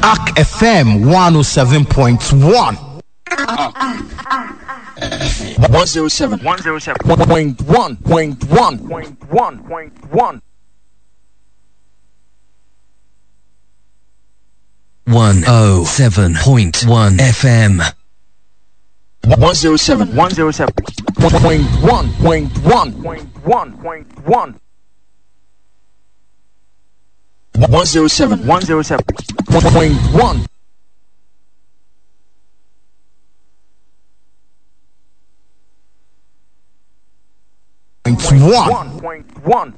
Ark FM 107.1. 107. 107.1. 1.1. 1.1. 107.1 FM. 107. 107.1. 1.1. 107. 107.1. 1.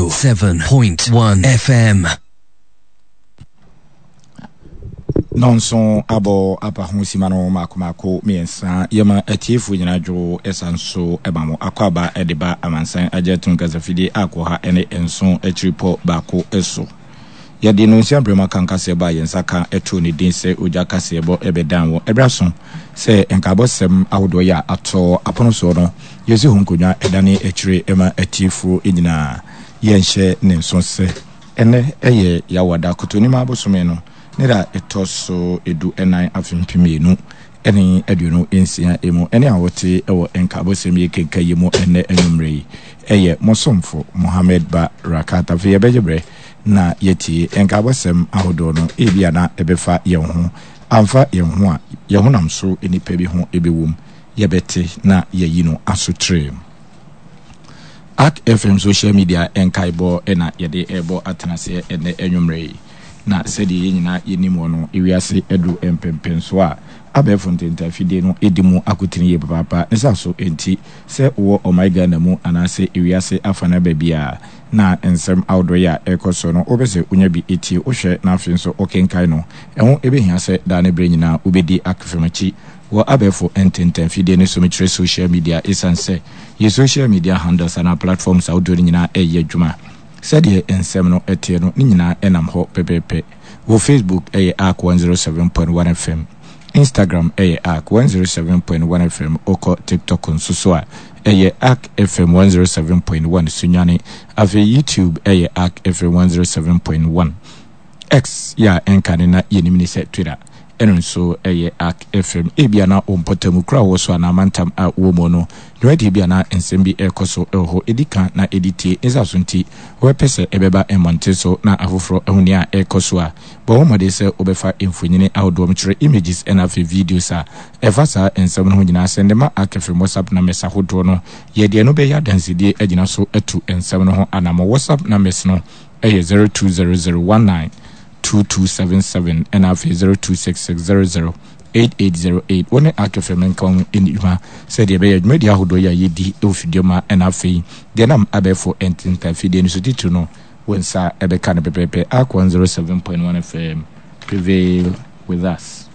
107.1 FM. Nɔnso abɔ aba ho sima no mako mako mmiɛnsa. Yɛma atiefoɔ nyinaa dwo ɛsa nso ɛma mo akwaaba ɛde ba amansan agye atum kasafidie akɔ ha ɛne nson akyiripɔ baako so. Yɛde nnɔnsia berɛ mu aka nkaseɛbɔ a yɛn nsa ka too ne din sɛ ogya kaseɛbɔ bɛdan wɔ ɛberɛ aso sɛ nkaebɔsɛm ahodoɔ yi a atɔ apono soɔ no yɛsi ho nkonnwa dane akyire ma atiefoɔ nyinaa. Yɛnhyɛ ne nso sɛ ɛnnɛ yɛ Yawada Kotonima bosome no ne da a ɛtɔ so du nan afe 2026 mu. Ɛnne a wote wɔ nkaebɔsɛm yi kenkan yi mu ɛnnɛ anwummerɛ yi yɛ mo somfo Mohammed Ba Rakat. Afei yɛbɛgye berɛ na yɛatie nkaebɔsɛm ahodoɔ no, ebia na ɛbɛfa yɛn ho, amfa yɛn ho a, yɛn honam so nnipa bi ho bɛwom, yɛbɛte na yɛayi no asotire. Ark FM social media nkaebɔ na yɛde rebɔ atenaseɛ ɛnnɛ anwummerɛ yi. Na sɛdeɛ yɛn nyinaa yɛnim wɔ no, ewiase aduru mpɛnpɛnsoɔ a abɛɛfo ntentafidie no di mu akotene yie papaapa. Ne saa so nti, sɛ wowɔ ɔman Ghana mu anaasɛ ewiase afanaa baabiara, na nsɛm ahodoɔ yi a ɛrekɔ so no, wopɛ sɛ wonya bi tie, wohwɛ na afei nso wokenkan no, ɛho bɛhia sɛ daa ne berɛ nyinaa wobɛdi akfem akyi wɔ abɛɛfo ntentanfidie no so, mekyerɛ social media, ɛsiane sɛ yɛn social media handles anaa platforms ahodoɔ no nyinaa reyɛ adwuma. Sɛdeɛ nsɛm no teɛ no, ne nyinaa nam hɔ pɛpɛɛpɛ. Wɔ Facebook ɛyɛ Ark 107.1 FM, Instagram ɛyɛ Ark 107.1 FM, wokɔ TikTok nso so a, ɛyɛ Ark FM 107.1 Sunyani. Afei YouTube ɛyɛ Ark FM 107.1. X yɛ a ɛnka ne na yɛnim ne sɛ Twitter, ɛno nso ɛyɛ Ark FM. Ebia na wo mpɔtam, kuro a wowɔ so anaa mantam a wowɔ mu no, dwumadie bi anaa nsɛm bi rekɔ so wɔ hɔ. Ɛdi kan na ɛdi tie. Ne saa so nti, wobɛpɛ sɛ ɛbɛba mmɔnten so na afoforɔ ahu nea ɛrekɔ so a, bɔ ho mmɔden sɛ wobɛfa mfonini ahodoɔ, mekyerɛ images ɛna afei videos a ɛfa saa nsɛm no ho nyinaa sɛnde ma Ark FM WhatsApp numbers ahodoɔ no. Yɛ deɛ ɛno bɛyɛ adansedie agyina so atu nsɛm no ho anammɔn. WhatsApp numbers no yɛ 0200192277 ɛna afei 02660088. Wo ne Ark FM nka ho nni dwuma sɛdeɛ ɛbɛyɛ dwumadie ahodoɔ yi a yɛdi wɔ fidua mu ha ɛna afei deɛ nam abɛɛfo ntentan fidie no so titiri no wo nsa ɛbɛka no pɛpɛɛpɛ. Ark 107.1 FM, prevail with us.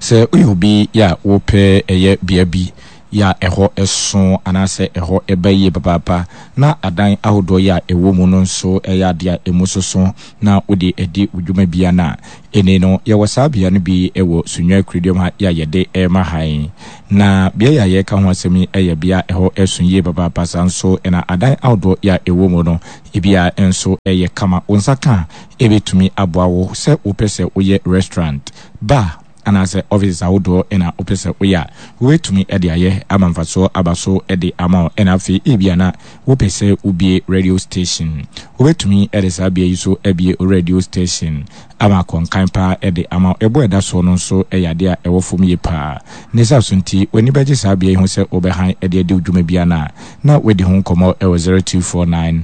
Sɛ woyɛ obi yɛ a wopɛ ɛyɛ bea bi yɛ a ɛhɔ so anaasɛ ɛhɔ ba yie papaapa na adan ahodoɔ yɛ a ɛwɔ mu no nso yɛ adeɛ a ɛmu soso na wode adi wo dwuma bia no a, ɛnei no yɛwɔ saa bea no bi wɔ Sunyani Kuroduam ha yɛ a yɛde rema ha yi. Na bea yi a yɛreka ho asɛm yi yɛ bea a ɛhɔ so yie papaapa saa nso na adan ahodoɔ yɛ a ɛwɔ mu no ebia nso yɛ kama. Wo nsa ka a ɛbɛtumi aboa wo sɛ wopɛ sɛ woyɛ restaurant, bar, anaasɛ offices ahodoɔ na wopɛ sɛ woyɛ a, wobɛtumi de ayɛ ama mfasoɔ aba so de ama wo. Ɛna afei ebia na wopɛ sɛ wobue radio station. Wobɛtumi de saa bea yi so abue wo radio station ama akɔnkan paa de ama wo. Ɛboɔ a ɛda soɔ no nso yɛ adeɛ a ɛwɔ fam yie paa. Ne saa so nti, w'ani bɛgye saa bea yi ho sɛ wobɛhan de adi wo dwuma biara no a, na woadi ho nkɔmmɔ wɔ 0249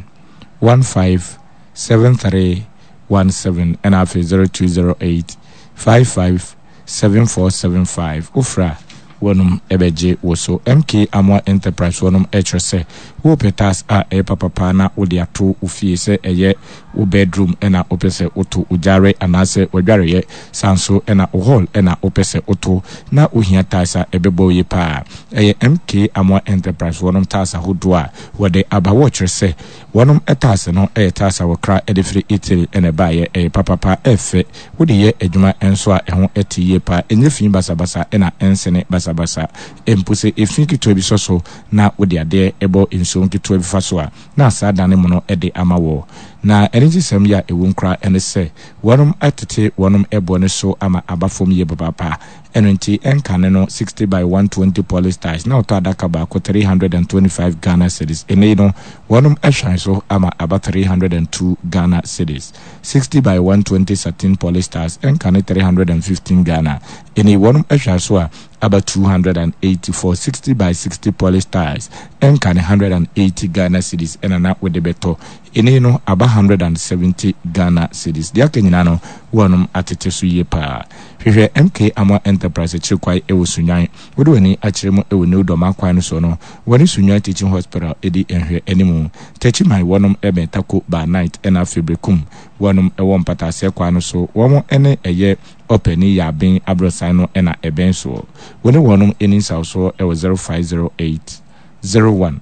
15 7317 ɛna afei 0208 55 7475. Wofrɛ a, wɔnom bɛgye wo so. MK Amoah Enterprise wɔnom kyerɛ sɛ wopɛ tiles a ɛyɛ papapa na wode ato wo fie sɛ ɛyɛ wo bedroom na wopɛ sɛ woto wo gyaare anaasɛ w'adwareɛ saa nso na wo hall na wopɛ sɛ woto na wohia tiles a ɛbɛbɔ wo yie paa. Ɛyɛ MK Amoah Enterprise wɔnom tiles ahodoɔ a wɔde aba. Wɔkyerɛ sɛ Wɔnom taase no yɛ taase a wɔkra de firi Italy na ɛbaeɛ. Ɛyɛ papapa, ɛyɛ fɛ. Wode yɛ adwuma nso a ɛho te yie paa. Ɛnyɛ fi basabasa na ɛnsene basabasa. Mpo sɛ efi ketewa bi sɔ so na wode adeɛ bɔ nsuo. nsuo nketewa bi fa so a, na asaa dane mono de ama wɔ. Na anigyesɛm yi a ɛwom koraa ne sɛ, wɔnom atete wɔnom boɔ no so ama aba fam yie papaapa. Ɛno nti, ɛnkane no 60 by 120 polystyles na ɔtɔ adaka baako 325 Ghana cedis. Ɛnnɛ yi no, wɔnom ahwan so ama aba 302 Ghana cedis. 60 by 120 satin polystyles ɛnkane 315 Ghana. Ɛnnɛ yi, wɔnom ahwan so a aba 284. 60 by 60 polystyles ɛnkane 180 Ghana cedis ɛna na wode bɛtɔ. Ɛnnɛ yi no, aba 170 Ghana cedis. Deɛ aka nyinaa no, wɔnom atete so yie paa. Hwehwɛ MK Amoah Enterprise akyiri kwae wɔ Sunyani. Wode w'ani akyerɛ mu wɔ New Dormaa kwan no so no, wɔne Sunyani Teaching Hospital di nhwɛ anim. Techiman wɔnom bɛn Tako Bar Night ɛna afei Berekum wɔnom wɔ Mpataaseɛ kwan no so. Wɔn ne ɛyɛ Ɔpɛni Yaaben abrɔsan no na ɛbɛn soɔ. Wo ne wɔnom nni nsawsoɔ wɔ 0508 01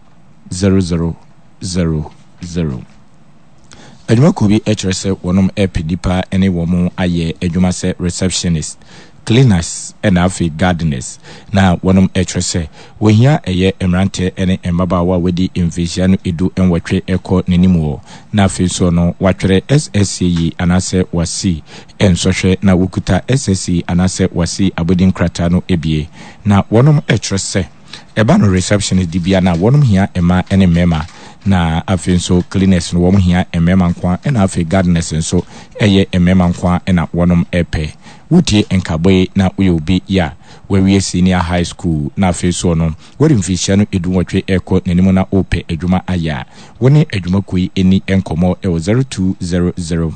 00 00. Adwumakuo bi kyerɛ sɛ wɔnom repɛ nnipa ne wɔn ayɛ adwuma sɛ receptionist, cleaners ɛna afei gardeners. Na wɔnom kyerɛ sɛ wɔhia ɛyɛ mmeranteɛ ne mmabaawa a wɔadi mfehyia no 18 kɔ n'anim wɔ na afei nso no wɔatwerɛ SSCE anaasɛ wɔasi nsɔhwɛ na wɔkuta SSCE anaasɛ wɔasi abɔdin krataa no bie. Na wɔnom kyerɛ sɛ. Ɛba no receptionist dibea no a wɔnom hia mmaa ne mmarima na afei nso cleaners no wɔn hia mmarima nkoa ɛna afei gardeners nso ɛyɛ mmarima nkoa ɛna wɔnom ɛpɛ. Wotie nkabɔ yi na woyɛ obi yɛ a wawie senior high school na afei soɔ no wadi mfirihyia no edunwɔtwe ɛkɔ n'anim na wopɛ adwuma ayɛ a wo ne adwumakuo yi ɛni nkɔmmɔ ɛwɔ 0200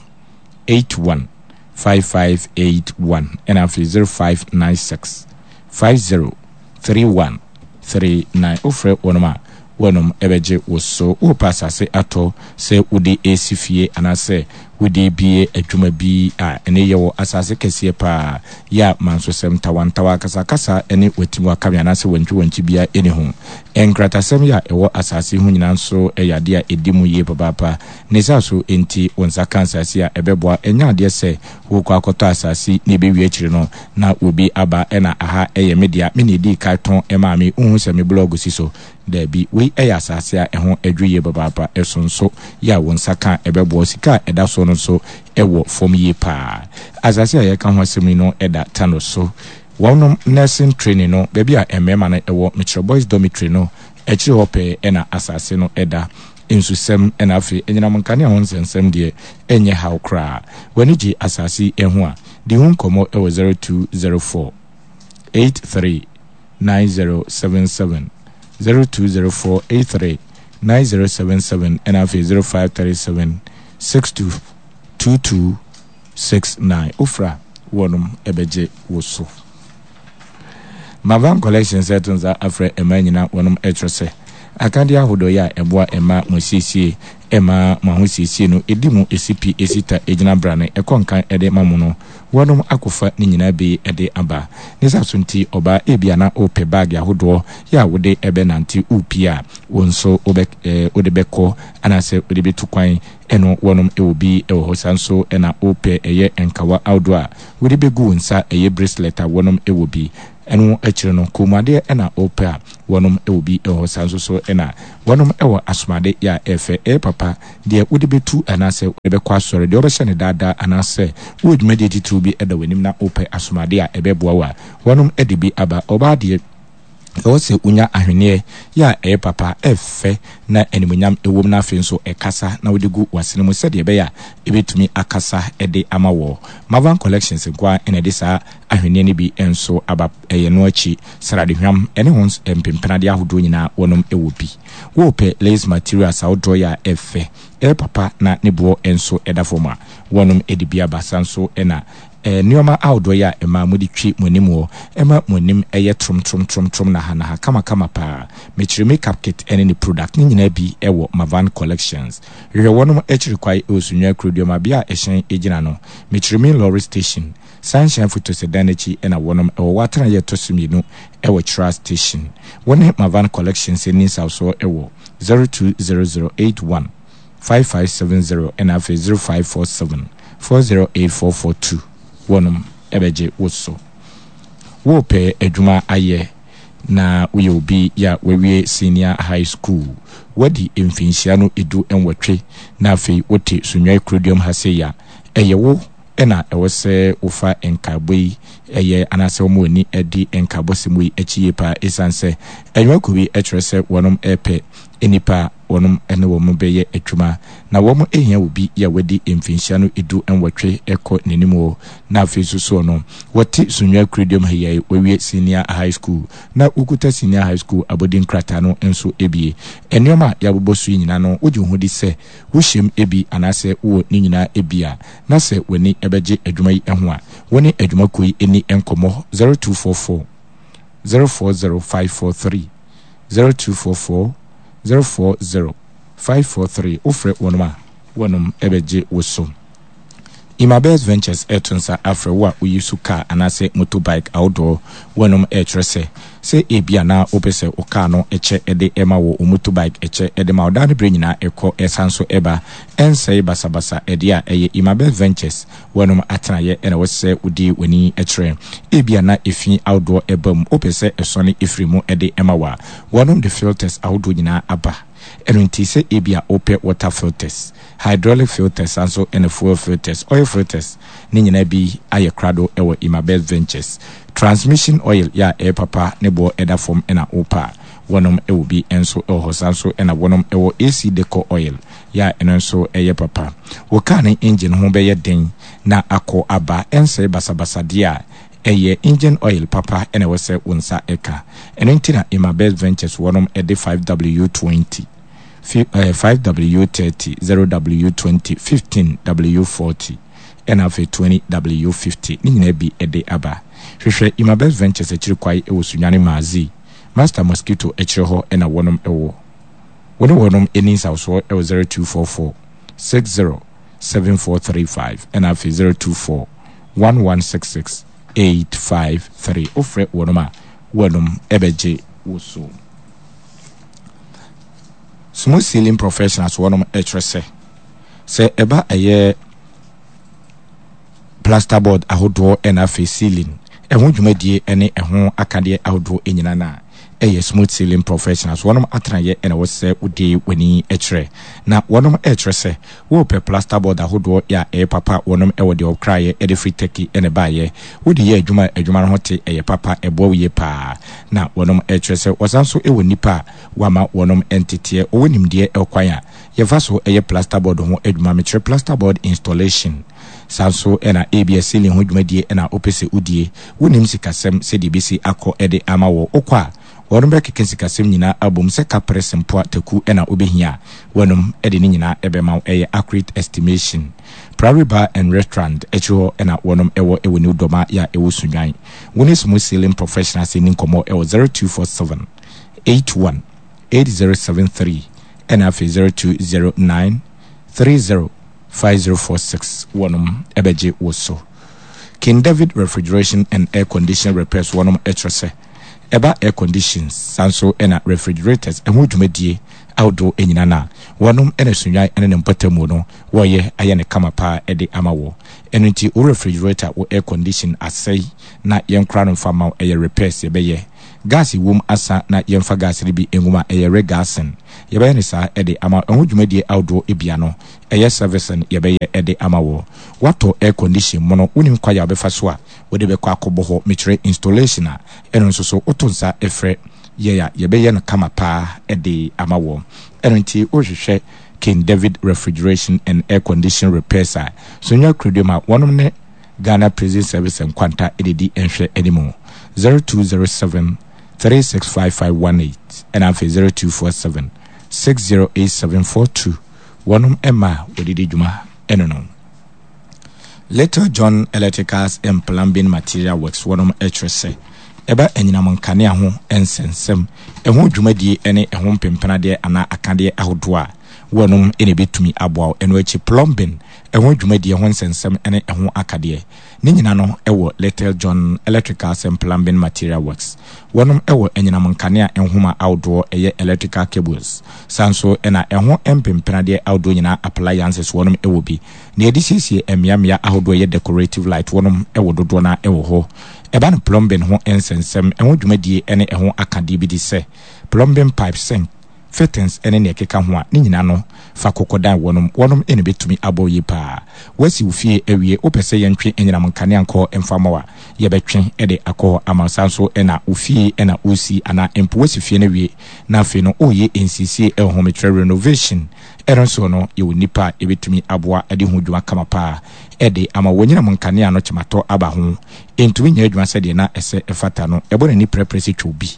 81 5581 ɛna afei 0596 50 3139 Wofrɛ wɔnom a, wɔnom bɛgye wo so. Worepɛ asase atɔ sɛ wode resi fie anaasɛ wode rebue adwuma bi a, ɛnne yɛwɔ asase kɛseɛ paa yɛ a mansosɛm, ntawantawa, akasakasa ne watimuakame anaasɛ wantwiwantwi biara nni ho. Nkratasɛm yɛ a ɛwɔ asase ho nyinaa nso yɛ adeɛ a ɛdi mu yie papaapa. Ne saa so nti, wo nsa ka asase a, ɛbɛboa. Ɛnyɛ adeɛ sɛ worekɔ akɔtɔ asase na ɛbɛwie akyiri no na obi aba na aha yɛ me dea, me na ɛdii kan tɔn maa me, wonhu sɛ me blɔɔgo si so? Daabi, wei yɛ asase a ɛho dwo yie papaapa, ɛso nso yɛ a wo nsa ka a ɛbɛboa wo, sika a ɛda soɔ no nso wɔ fam yie pa ara. Asase a yɛreka ho asɛm yi no da Tano so. Wɔnom nursing training no, baabi a mmarima no wɔ, mekyerɛ boys dormitory no akyiri hɔ pɛɛ na asase no da. Nsusɛm na afei anyinam nkanea ho nsɛnsɛm deɛ ɛnyɛ haw koraa. W'ani gye asase yi ho a, di ho nkɔmmɔ wɔ 0204 83 9077, 0204 83 9077 ɛna afei 0537 62 2269. Wofrɛ a, wɔnom bɛgye wo so. Mavan Collections reto nsa afrɛ mmaa nyinaa wɔnom kyerɛ sɛ akadeɛ ahodoɔ yi a ɛboa mmaa mo asiesie ɛma mo ahosiesie no ɛdi mu ɛsi pi ɛsi ta ɛgyina brane ɛkɔ nkan ɛde ma mo no wɔnom akɔfa ne nyinaa bi ɛde aba. Ne saa so nti ɔbaa ebia na wopɛ bag ahodoɔ yɛ a wode ɛbɛ nante wopie a wo nso wobɛ wode bɛkɔ anaasɛ wode bɛtu kwan ɛno wɔnom ɛwɔ bi ɛwɔ hɔ saa nso ɛna wopɛ ɛyɛ nkawa ahodoɔ a Wode bɛgu wo nsa ɛyɛ bracelet a wɔnom wɔ bi. Ɛno akyire no kɔnmuadeɛ na wopɛ a wɔnom wɔ bi wɔ hɔ. Saa nso so na wɔnom wɔ asomade yɛ a ɛfɛ, ɛyɛ papa, deɛ wode bɛtu anaasɛ wode bɛkɔ asɔre, deɛ wobɛhyɛ no daadaa anaasɛ wowɔ dwumadie titiriw bi da w'anim na wopɛ asomade a ɛbɛboa wo a, wɔnom de bi aba. Ɔbaa deɛ. Ɛwɔ sɛ wonya ahweneɛ yɛ a ɛyɛ papa, ɛfɛ, na animuonyam wom na afei nso ɛkasa na wode gu w'asene mu sɛdeɛ ɛbɛyɛ a ɛbɛtumi akasa de ama wɔ. Mavan Collections nko ara na ɛde saa ahweneɛ no bi nso aba. Ɛyɛ no akyi, sradehwam ne ho mpempenadeɛ ahodoɔ nyinaa wɔnom wɔ bi. Worepɛ lace materials ahodoɔ yɛ a ɛfɛ, ɛyɛ papa na ne boɔ nso da fam a, wɔnom de bi aba. Saa nso na Nnoɔma ahodoɔ yi a ɛma mode twi mo anim wɔ, ɛma mo anim yɛ tromtromtromtrom nahanaha kamakama paa. Mekyerɛ makeup kit ne ne product ne nyinaa bi wɔ Mavan Collections. Hwehwɛ wɔnom akyiri kwae wɔ Sunyani Kuroduama bea a ɛhyɛn gyina no. Mekyerɛ main lorry station, Sunshine Fotose dan no akyi na wɔnom wɔ wɔ atenaeɛ ɛtɔ so mmienu wɔ Kyira station. Wo ne Mavan Collections nni nsawsoɔ wɔ 020081. 5570 ɛna afei 0547 408442 wɔnom bɛgye wo so. Worepɛ adwuma ayɛ? na woyɛ obi yɛ a wawie senior high school, woadi mfinhyia no 18, na afei wote Sunyani kuroduam ha sei a, ɛyɛ wo na ɛwɔ sɛ wofa nkaebɔ yi yɛ anaasɛ woma w'ani di nkaebɔsɛm yi akyi yie paa esiane sɛ nnwumakuo bi kyerɛ sɛ wɔnom repɛ nnipa a wɔnom ne wɔn bɛyɛ adwuma na wɔn hia obi a wadi mfinhyia no 18 kɔ n'anim o na afei nso soɔ no wɔte Sunyani kuroduam ha yi a wawie senior high school na wokuta senior high school abɔdin krataa no nso bie. Nnoɔma a yɛabobɔ so yi nyinaa no wogye wo ho di sɛ wohyɛm bi anaasɛ wowɔ ne nyinaa bi a, na sɛ w'ani bɛgye adwuma yi ho a, wo ne adwumakuo yi nni nkɔmmɔ 0244 040 543, 0244 040 543, wofrɛ wɔnom a, wɔnom bɛgye wo so. Imabels Ventures reto nsa afrɛ wo a woyi so kaa anaasɛ motorbike ahodoɔ. Wɔnom rekyerɛ sɛ, sɛ ebia na wopɛ sɛ wo kaa no kyɛ de ma wo, wo motorbike kyɛ de ma wo daa ne berɛ nyinaa ɛkɔ ɛsan so ɛba, ɛnsɛe basabasa ɛdeɛ a ɛyɛ Imabels Ventures wɔnom atenaeɛ na ɛwɔ sɛ wode w'ani kyerɛ. Ebia na efi ahodoɔ ɛba mu, wopɛ sɛ ɛsɔne firi mu de ma wo a, wɔnom de filters ahodoɔ nyinaa aba. Ɛno nti sɛ ebia wopɛ water filters, hydraulic filters san so na fuel filters, oil filters ne nyinaa bi ayɛ krado wɔ Imabeth Ventures. Transmission oil yɛ a ɛyɛ papa ne boɔ da fam na wopɛ a, wɔnom wɔ bi nso wɔ hɔ. San so na wɔnom wɔ AC decor oil yɛ a ɛno nso yɛ papa. Wo car ne engine ho bɛyɛ den na akɔ aba, ɛnsɛe basabasa deɛ a, ɛyɛ engine oil papa na ɛwɔ sɛ wo nsa ka. Ɛno nti na Imabeth Ventures wɔnom de 5W20. 5W30, 0W20, 15W40, ɛna afei 20W50 ne nyinaa bi de aba. Hwehwɛ Imabest Ventures akyiri kwae wɔ Sunyani Maazi, Master Mosquito akyire hɔ na wɔnom wɔ. Wo ne wɔnom nni nsawosoɔ wɔ 0244 60 7435 ɛna afei 024 1166 853. Wofrɛ wɔnom a, wɔnom bɛgye wo so. Smooth Sailing Professionals wɔnom kyerɛ sɛ, sɛ ɛba ɛyɛ plasterboard ahodoɔ ɛna afei ceiling ɛho dwumadie ɛne ɛho akadeɛ ahodoɔ nyinaa no a, ɛyɛ Smooth Sailing Professionals wɔnom atenayɛ ɛna ɛwɔ sɛ wode w'ani kyerɛ. Na wɔnom ɛkyerɛ sɛ wopɛ plasterboard ahodoɔ yɛ a ɛyɛ papa wɔnom ɛwɔ deɛ wɔkraeɛ ɛde firi Turkey ɛna ɛbaeɛ. Wode yɛ adwuma a adwuma no ho te ɛyɛ papa ɛboa wo yie paa. Na wɔnom ɛkyerɛ sɛ wɔsan nso wɔ nnipa a wɔama wɔnom nteteɛ, wɔwɔ nimdeɛ wɔ kwan a yɛfa so yɛ plasterboard ho adwuma, mekyerɛ plasterboard installation. Saa nso na ebia ceiling ho dwumadie na wopɛ sɛ wodie, wonnim sikasɛm sɛdeɛ ɛbɛsi akɔ de ama wo, wokɔ a wɔnom bɛkeka sikasɛm nyinaa abom sɛ kapre, sempoa, taku na wobɛhia a, wɔnom de ne nyinaa bɛma wo, ɛyɛ accurate estimation. Prairie Bar and Restaurant akyiri hɔ na wɔnom wɔ wɔ New Doma yɛ a ɛwɔ Sunnwan. Wo ne Smooth Sailing Professionals nni nkɔmmɔ wɔ 0247 81 8073 ɛna afei 0209 30 5046 wɔnom bɛgye wo so. King David Refrigeration and Air Condition Repairs wɔnom kyerɛ sɛ ɛba air conditions saa nso na refrigerators ɛho dwumadie ahodoɔ nyina no a wɔnom na Sunnwan ne ne mpɔtamu no wɔyɛ ayɛ no kama paa de ama wo. Ɛno nti wo refrigerator, wo air condition asɛe na yɛnkora no mfa mma wo, ɛyɛ repairs yɛbɛyɛ. Gas wom asa na yɛmfa gas no bi ngu mu a, ɛyɛ regassing. Yɛbɛyɛ no saa de ama wo. Ɛho dwumadie ahodoɔ bia no, ɛyɛ servicing yɛbɛyɛ de ama wo. Woatɔ air condition mono, wonim kwan a wobɛfa so a wode bɛkɔ akɔbɔ hɔ, mekyerɛ installation a, ɛno nso so woto nsa frɛ yɛn a, yɛbɛyɛ no kama paa de ama wo. Ɛno nti wohwehwɛ King David Refrigeration and Air Condition Repairs a, Sunyani Kuroduam a wɔnom ne Ghana Prison Service Nkwanta na ɛdi nhwɛ anim, 0207 365518 ɛna afei 0247 608742 wɔnom mma a wɔde di dwuma ɛno no. Little John Electricals and Plumbing Material Works wɔnom kyerɛ sɛ ɛba anyinam nkanea ho nsɛnsɛm, ɛho dwumadie ne ɛho mpempenadeɛ anaa akadeɛ ahodoɔ a. Wɔnom na ɛbɛtumi aboa wo. Ɛno akyi plumbing, ɛho dwumadie ho nsɛnsɛm ne ɛho akadeɛ. Ne nyina no wɔ Little John Electricals and Plumbing Material Works. Wɔnom wɔ anyinam nkanea nhoma ahodoɔ ɛyɛ electrical cables. Saa nso na ɛho mpempenadeɛ ahodoɔ nyinaa appliances wɔnom wɔ bi. Nea yɛde siesie mmeammea ahodoɔ ɛyɛ decorative light wɔnom wɔ dodoɔ no ara wɔ hɔ. Ɛba no plumbing ho nsɛnsɛm, ɛho dwumadie ne ɛho akadeɛ bi de sɛ plumbing pipe, sink, fittings ne nea ɛkeka ho a, ne nyinaa no, fa kɔkɔdan wɔnom. Wɔnom na ɛbɛtumi abɔ wo yie paa. Woasi wo fie awie, wopɛ sɛ yɛntwe anyinam nkanea nkɔ hɔ mfa mma wo a, yɛbɛtwe de akɔ hɔ ama wo. Saa nso na wo fie na woresi anaa mpo woasi fie no awie na afei no woreyɛ nsiesie wɔ ho, mekyerɛ renovation, ɛno nso no, yɛwɔ nnipa a yɛbɛtumi aboa de ho dwuma kama paa de ama wo. W'anyinam nkanea no kyematɔ aba ho, ɛntumi nyɛ adwuma sɛdeɛ na ɛsɛ ɛfata no, ɛbɔ n'ani prɛprɛ sɛ twɛ obi.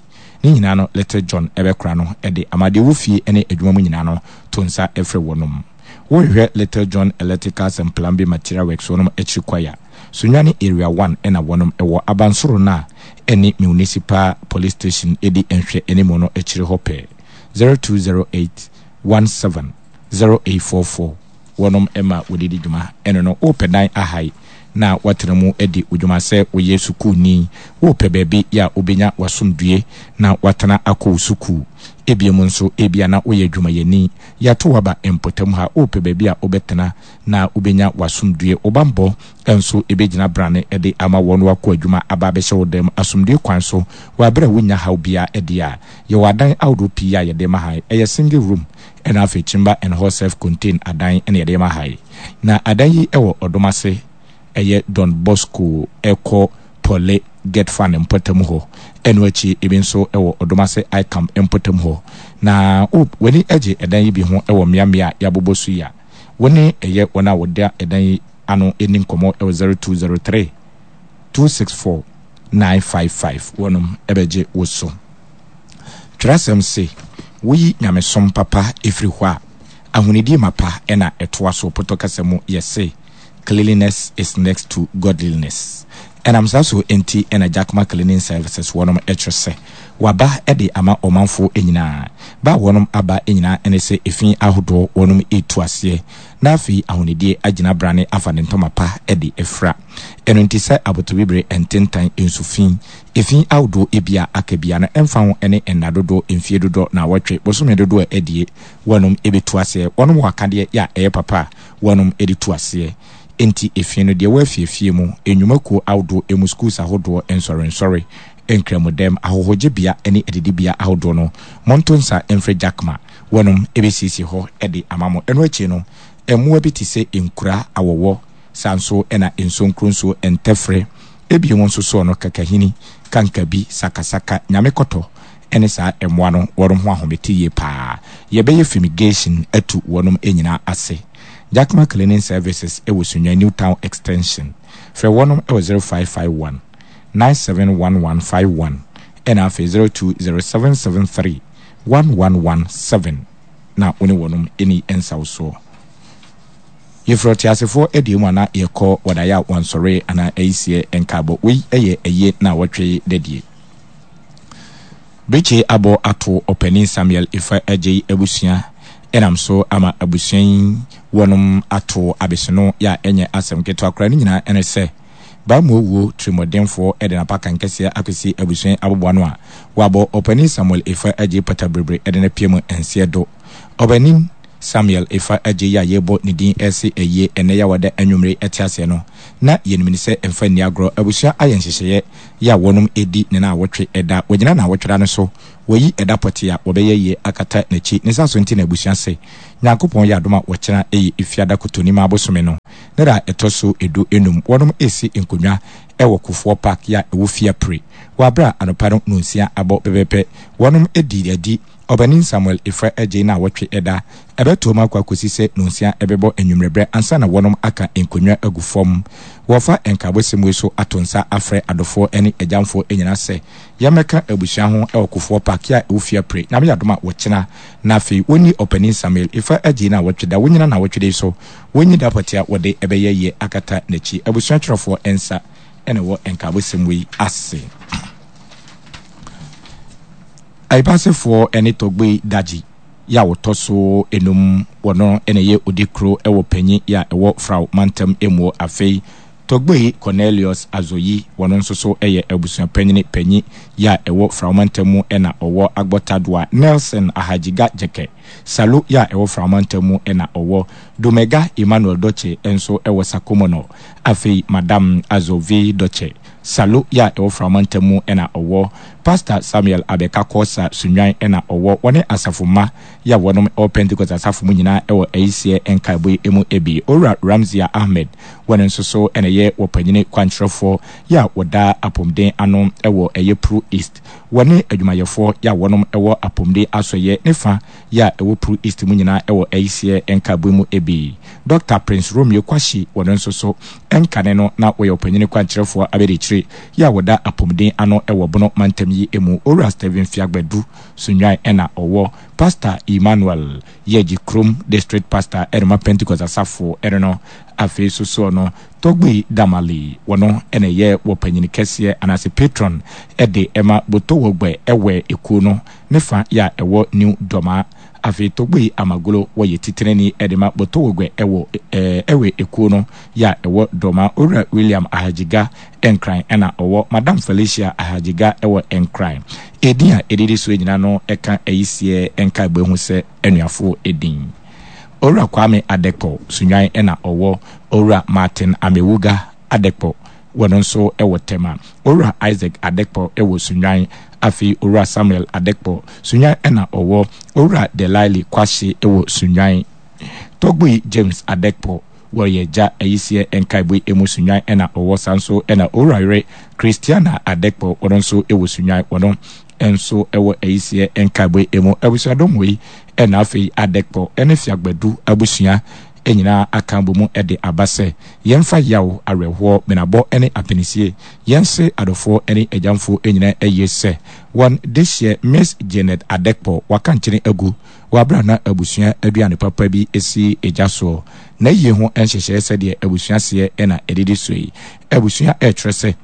Ne nyinaa no Little John bɛkora no de ama deɛ ɔwɔ fie ne adwuma mu nyinaa no to nsa frɛ wɔnom. Wohwehwɛ Little John Electricals and Plumbing Material Works wɔnom akyiri kwae a, Sunyani Area One na wɔnom wɔ, abansoro no a ɛne Municipal Police Station di nhwɛ animu no akyiri hɔ pɛɛ. 0208 17 0844. Wɔnom ma wɔde di dwuma. Ɛno no, worepɛ dan ahae na woatena mu adi wo dwuma sɛ woyɛ sukuuni. Worepɛ baabi a wobɛnya w'asomdwoeɛ na woatena akɔ wo sukuu. Ebiem nso, ebia na woyɛ adwumayɛni. Yɛato wo aba mpɔtam ha. Worepɛ baabi a wobɛtena na wobɛnya w'asomdwoeɛ. Wo bammɔ nso bɛgyina brane de ama wɔn wakɔ adwuma aba abɛhyɛ wo dan mu asomdwoeɛ kwan so wɔ aberɛ a wonnya haw biara deɛ a. Yɛwɔ adan ahodoɔ pii a yɛde ma ha. Ɛyɛ single room Ɛna afei chamber and hall self contain adan na yɛde ma ha yi. Na adan yi wɔ ɔdom ase ɛyɛ Don Bosco ɛkɔ Pɔle Get Fund mpɔtam hɔ. Ɛno akyi ebi nso wɔ ɔdom ase ICAM mpɔtam hɔ. Na wo w'ani gye ɛdan yi bi ho wɔ mmeammea a yɛabobɔ so yi a, wo ne ɛyɛ wɔn a wɔda ɛdan yi ano nni nkɔmmɔ wɔ 0203 264 955 wɔnom bɛgye wo so. Twerɛsɛm se, Woyi nyamesom papa firi hɔ a, ahonidie mapa na ɛtoa so. Pɔtɔ kasa mu yɛse, Cleanliness is next to godliness. Ɛnam saa so nti na Jakma Cleaning Services wɔnom kyerɛ sɛ waba de ama ɔmanfoɔ nyinaa. Ba a wɔnom aba nyinaa ne sɛ efi ahodoɔ wɔnom retu aseɛ na afei ahonidie agyina brane afa ne ntoma pa de afira. Ɛno nti sɛ abotobibire ntentan nsu fi Efi ahodoɔ ebi a aka biara no ɛmfa ho ne nna dodoɔ, mfie dodoɔ, naawɔtwe, bosome dodoɔ a adie, wɔnom bɛtu aseɛ. Wɔnom wɔ akadeɛ yɛ a ɛyɛ papa a wɔnom de tu aseɛ. Enti efi no deɛ ɛwɔ afiefie mu, nnwuma kuo ahodoɔ mu, schools ahodoɔ, nsɔrensɔre, nkramodɛm, ahɔhogyebea ne adidibea ahodoɔ no, monto nsa mfrɛ Jakma, wɔnom bɛsiesie hɔ de ama mo. Ɛno akyi no, mmoa bi te sɛ nkura, awɔwɔ, saa nso na nsonkronsuo, ntɛfrɛ, Ebio nso soɔ no kakahini, kankabi, sakasaka, nyame kɔtɔ ne saa mmoa no wɔnom ho ahomete yie paa. Yɛbɛyɛ fumigation atu wɔnom nyinaa ase. Jakma Cleaning Services wɔ Sunyani New Town Extension. Frɛ wɔnom wɔ 0551 971151 ɛna afei 020773 1117 na wo ne wɔnom nni nsawosoɔ. Yɛfiri ɔteasefoɔ deɛ mu anaa yɛkɔ wɔdaeɛ a wɔnsɔree anaa ayisiɛ nkaabɔ. Wei yɛ ayie naawɔtwe dadie. Birikye abɔ ato ɔpanin Samuel Ifa Agyei abusua ɛnam so ama abusua yi wɔnom ato abesono yɛ a ɛnyɛ asɛm ketewa koraa. Ne nyinaa ɛne sɛ Bammɔ wuo tirimɔdenfoɔ de n'apakan kɛseɛ akɔsi abusua yi aboboano a wɔabɔ ɔpanin Samuel Ifa Agyei pataberebere de no apue mu nseɛ do. Ɔbanin Samuel Efa Adjei a yɛrebɔ ne din rese ayie ɛnnɛ Yawada anwummere yi te aseɛ no, na yɛnim no sɛ mfa nni agorɔ. Abusua ayɛ nhyehyɛeɛ yɛ a wɔnom redi ne naawɔtwe ɛda. Wɔgyina naawɔtwe da no so, wɔayi ɛda pɔtee a wɔbɛyɛ ayie akata n'akyi. Ne saa so nti na abusua se, Nyankopɔn yɛ adom a wɔkyena ɛyɛ Efiada Kotonima abosome no ne da a ɛtɔ so du nnum. Wɔnom resi nkonnwa wɔ Kufuor Park yɛ a ɛwɔ Fiapre wɔ aberɛ a anɔpa no nonsia abɔ pɛpɛpɛ. Wɔnom dii adi Ɔbanin Samuel Efra Adjei naawɔtwe ɛda ɛbɛtoam akɔ akɔsi sɛ nonsia ɛbɛbɔ anwummerɛberɛ ansa na wɔnom aka nkonnwa agu fam. Wɔfa nkaabɔsɛm wei so ato nsa afrɛ adɔfoɔ ne agyamfoɔ nyinaa sɛ yɛmmɛka abusua ho wɔ Kofoɔ Park a ɛwɔ Fiapre Nyame yɛ adom a wɔkyena na afei wɔnni Ɔpanin Samuel Efra Adjei naawɔtwe da wɔnyina naawɔtwe da yi so wɔnyi da pɔtee a wɔde ɛbɛyɛ yie akata n'akyi. Abusua twerɛfoɔ nsa na ɛwɔ nkaabɔsɛm wei ase. Aibasefoɔ ne Tɔgbei Daji. yɛ a wɔtɔ so enum, wɔno na ɛyɛ odikro wɔ panyin yɛ a ɛwɔ Frao mantam muo. Afei Togbui Cornelius Azoyi, wɔno nso so yɛ abusua panyini panyin yɛ a ɛwɔ Frao mantam mu na ɔwɔ Agbɔtadoa Nelson Ahajiga Gyekɛ Salu yɛ a ɛwɔ Frao mantam mu na ɔwɔ Domega Emmanuel Dotse nso wɔ Sakomono. Afei Madam Azovi Dotse Salu yɛ a ɛwɔ Frao mantam mu na ɔwɔ Pastor Samuel Abeka Korsah Sunnwan na ɔwɔ wɔne asafo mma yi a wɔnom wɔ Pentecost asafo mu nyinaa wɔ ayisiɛ nkaebɔ yi mu bi. Owura Ramzia Ahmed, wɔno nso so na ɛyɛ wɔpanyini kwankyerɛfoɔ yi a wɔda apomden ano wɔ ɛyɛ Pru East. Wɔne adwumayɛfoɔ yi a wɔnom wɔ apomden asɔeɛ ne fa yi a ɛwɔ Pru East mu nyinaa wɔ ayisiɛ nkaebɔ mu bi. Dɔkta Prince Romeo Kwashi, wɔno nso so nkane no na wɔyɛ ɔpanyini kwankyerɛfoɔ abadiakyire yi a wɔda apomden ano wɔ Bono mantam yi mu, Owura Stephen Fiagbadu Sunnwan na ɔwɔ Pastor Emmanuel Yɛgye Krom District Pastor ɛno ma Pentecost Asafo ɛno no. Afei so soɔ no, Togbui Damali, wɔno na ɛyɛ wɔ panyini kɛseɛ anaase patron de ɛma Botowɔgbɛ ɛwɛ ekuo no ne fa yɛ a ɛwɔ New Dɔmaa. Afei Togbui Amagolo wɔyɛ titenani de ma Botowɔgbɛ ɛwɔ ɛwɛ ekuo no yɛ a ɛwɔ Dɔmaa. Owura William Ahajiga Nkran ɛna ɔwɔ Madam Felicia Ahajiga ɛwɔ Nkran. Edin a edidi soɔ nyinaa no ɛka ayisiɛ nkaebɔ ho sɛ anuafoɔ edin. Owura Kwame Adekpo Sunnwan ɛna ɔwɔ Owura Martin Amewuga Adekpo wɔno nso ɛwɔ Tema. Owura Isaac Adekpo ɛwɔ Sunnwan. Afei Owura Samuel Adekpo Sunnwan ɛna ɔwɔ Owura Delaili Kwahye ɛwɔ Sunnwan. Togbui James Adekpo wɔyɛ gya ayisiɛ nkaebɔ yi emu Sunnwan ɛna ɔwɔ saa nso ɛna Owura yere Christiana Adekpo wɔno nso ɛwɔ Sunnwan wɔno nso ɛwɔ ayisiɛ nkaebɔ yi emu. Abusuadɔm wei ɛna afei Adekpo ɛne Fiagbadu abusua nyinaa aka abɔ mu de aba sɛ yɛmfa yaw, awerɛhoɔ, menabɔ ne apinisie yɛnse adɔfoɔ ne agyamfoɔ nyinaa ayie sɛ wɔn dehyeɛ Miss Janet Adekpo waka nkyene agu wɔ aberɛ a na abusua aduane papa bi si gya soɔ. N'ayie ho nhyehyɛeɛ sɛdeɛ abusua seɛ na ɛdidi soɔ yi. Abusua rekyerɛ sɛ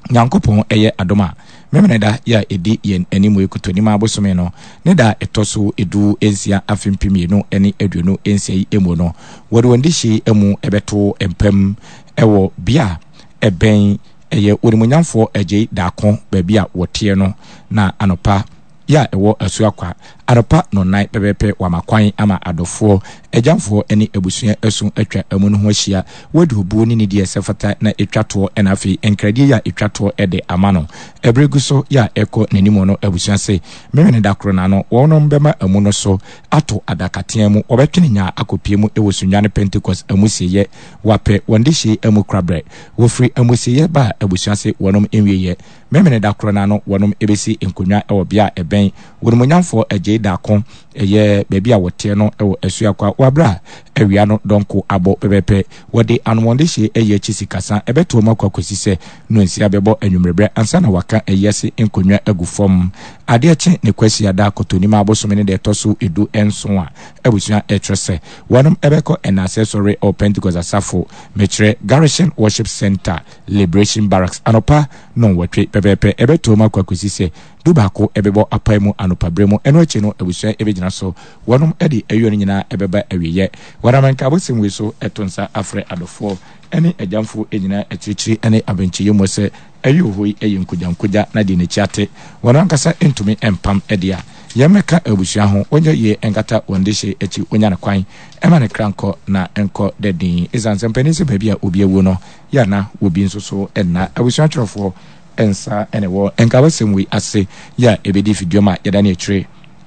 Nyankopɔn yɛ adom a, Memeneda yi a ɛdi yɛn anim yi Kotonimaa bosome no ne da a ɛtɔ so du nsia afe 2026 yi mu no, wɔde wɔn dehye amu bɛto mpam wɔ bea a ɛbɛn ɛyɛ Onimuonyamfoɔ Agyei Daako baabi a wɔteɛ no na anɔpa yɛ a ɛwɔ Asuakwa, anɔpa nnɔnnan pɛpɛɛpɛ wɔama kwan ama adɔfoɔ, agyamfoɔ ne abusua asu atwa amu no ho ahyia, wɔadi obuo ne nidie a ɛsɛ fata na ɛtwa toɔ na afei nkradie yɛ a ɛtwa toɔ de ama no. Ɛberɛ gu so yɛ a ɛrekɔ n'anim no abusua se Memeneda koro no ano wɔnom bɛma amu no so ato adakatea mu, wɔbɛtwene nyaa akɔpie mu wɔ Sunyani Pentecost amusieɛ, wɔapɛ wɔn dehyee amu korabrɛ. Wɔfiri amusieɛ ba a abusua se wɔnom nwieɛ. Memeneda korɔ no ara no wɔnom bɛsi nkonnwa wɔ bea a ɛbɛn Wonimuonyamfoɔ Agyei Darko, ɛyɛ baabi a wɔteɛ no wɔ Asuakwa wɔ aberɛ a awia no dɔnko abɔ pɛpɛpɛ. Wɔde anomɔndehyeɛ ayi akyi sikasa ɛbɛtoa mu akɔ akɔsi sɛ nnɔnsia bɛbɔ anwummereberɛ ansa na wɔaka ayi ase nkonnwa agu fam. Adeɛ kye ne Kwasiada Kɔtɔnim abosome no da ɛtɔ so du nson a abusua ɛkyerɛ sɛ wɔnom bɛkɔ Ɛnaaseɛ Sɔre wɔ Pentecost Asafo, mekyerɛ Garrison Worship Centre, Liberation Barracks anɔpa nnɔnwɔtwe pɛpɛɛpɛ. Ɛbɛtoam akɔ akɔsi sɛ dubaako bɛbɔ apae mu anɔpa berɛ mu. Ɛno akyi no, abusua bɛgyina so. Wɔnom de ayuo no nyinaa bɛba awieɛ. Wɔnam nkaabosɛm wei so to nsa afrɛ adɔfoɔ ne agyamfoɔ nyinaa akyirikyiri ne abenkyeyɛ mu sɛ ayuo hɔ yi yɛ nkogyankogya na deɛ n'akyi ate wɔn ankasa ntumi mpam deɛ a, yɛmmɛka abusua ho, wɔnyɛ yie nkata wɔn dehye akyi, wɔnya no kwan ma ne kra nkɔ na nkɔ da din. Ɛsiane sɛ mpanin sɛ baabi a obi awuo no, yɛ a na wɔ bi nso so nna. Abusua twerɛfoɔ nsa na ɛwɔ nkaabɔsɛm wei ase yɛ a ɛbɛdi fidua mu a yɛdane akyire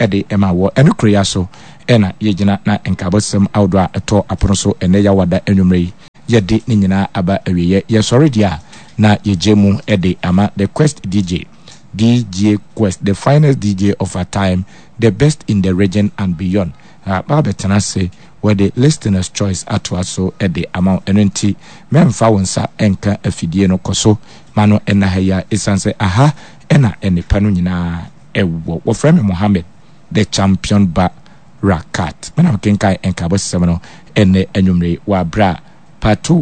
de ma wɔ. Ɛno koro yi ara so na yɛgyina na nkaabɔsɛm ahodoɔ a ɛtɔ apono so ɛnnɛ Yawada anwummerɛ yi yɛde ne nyinaa aba awieɛ. Yɛsɔre deɛ a na yɛgya mu de ama The Quest DJ, DJ Quest, the finest DJ of our time, the best in the region and beyond. Aba abɛtena ase, wɔde Listener's Choice atoa so de ama wo. Ɛno nti, mɛmfa wo nsa nka afidie no. Kɔ so ma no nna ha yi ara, ɛsiane sɛ aha na nnepa no nyinaa wɔ. Wɔfrɛ me Mohammed, the Champion Ba Rakat. Me na mekenkan nkaabɔsɛm no ɛnnɛ anwummere yi wɔ aberɛ a Pato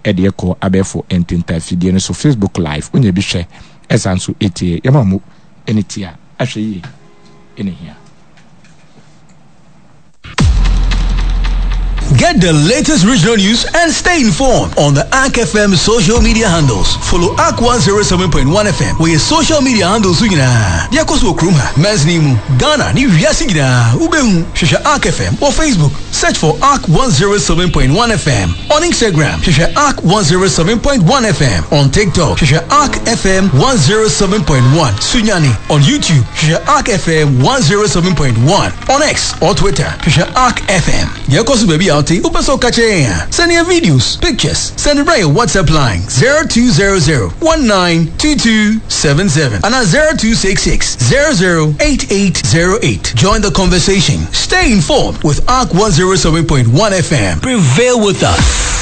de ɛkɔ abɛɛfo ntentan afidie no so, Facebook Live. Wonya bi hwɛ, ɛsan nso tie. Yɛma wo mu ne tie a, ahwɛ yie na ɛhia. Get the latest regional news and stay informed on the Ark FM social media handles. Follow Ark 107.1 FM wɔ yɛ social media handles so nyinaa. Deɛ ɛkɔ so wɔ kurom ha, mansini mu, Ghana ne wiase nyinaa, wobɛhu. Hwehwɛ Ark FM wɔ Facebook, search for Ark 107.1 FM. On Instagram, hwehwɛ Ark 107.1 FM. On TikTok, hwehwɛ Ark FM 107.1 Sunyani. On YouTube, hwehwɛ Ark FM 107.1. On X or Twitter, hwehwɛ Ark FM. Deɛ ɛkɔ so baabi a wote, wopɛ sɛ woka kyerɛ yɛn a, send yɛn videos, pictures, send brɛ yɛn WhatsApp line 0200 192277 anaa 0266 008808. Join the conversation. Stay informed with Ark 107.1 FM. Prevail with us.